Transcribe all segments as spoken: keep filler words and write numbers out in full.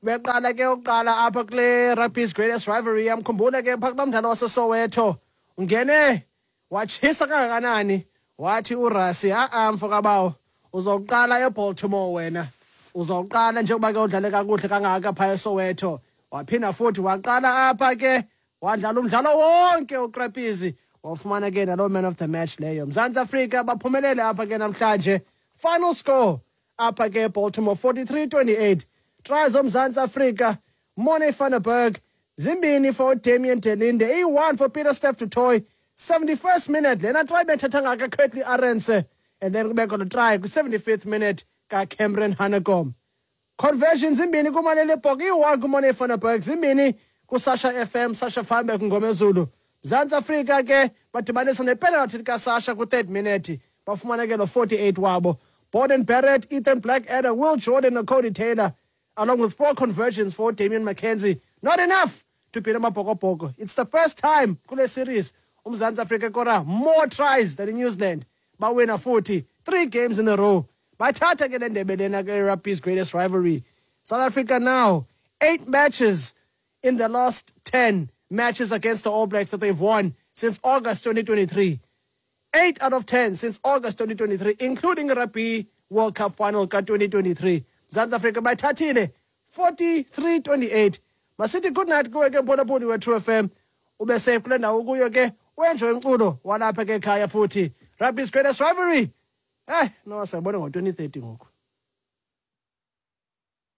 Beqala ke uqala apha kule Rugby's Greatest Rivalry. Yamkhumbula ke phaa kulaa mdlalo waseSoweto. Ungene watshisa kangakanani, wathi uRassie, a-a mfokabawo, uzawuqala eBaltimore wena. Uzawuqala njengoba ke udlale kakuhle kangaka phaa eSoweto. Waphinda futhi waqala apha ke, wadlala umdlalo wonke uCrapisi, wafumana ke naloo man of the match leyo. Mzantsi Afrika baphumelele apha ke namhlanje. Final score apha ke eBaltimore, forty-three twenty-eight. Tries zoMzantsi Afrika: Morne van der Berg zimbini for Damian de Allende, iyi-one for Pieter-Steph du Toit, seventy-first minute lena try bethetha ngaka Kurt-Lee Arendse, and then kubekho lo try kwi-seventy-fifth minute kaCameron Hanekom. Conversions zimbini kuManeli Libbok, iyi-one kuMorne van der Berg, zimbini kuSasha F M, Sacha Feinberg Mngomezulu. Mzantsi Afrika ke badibanisa nepenalty kaSasha kwi-third minute, bafumana ke lo forty-eight wabo. Beauden Barrett, Ethan Blackadder, Will Jordan and Codie Taylor, along with four conversions for Damian McKenzie. Not enough to beat Amabhokobhoko. It's the first time kule series uMzantsi Afrika kora more tries than New Zealand. Bawina forty, three games in a row. Bathatha ke le ndebe lena ke rugby's greatest rivalry. South Africa now, eight matches in the last ten matches against the All Blacks that they've won since August twenty twenty-three. eight out of ten since August twenty twenty-three, including Rugby World Cup final ka twenty twenty-three. Mzantsi Afrika bayithathile forty-three twenty-eight. Masithi good night kuwe ke mphulaphuli we-True F M. Ube safe kule ndawo kuyo ke, u-enjoy umculo walapha ke ekhaya futhi. Rugby's Greatest Rivalry. Eh, no, sayibona ngo-twenty thirty ngoku.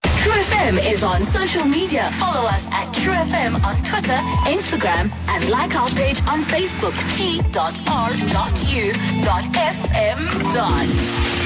True F M is on social media. Follow us at True F M on Twitter, Instagram, and like our page on Facebook, T dot R dot U dot F M dot.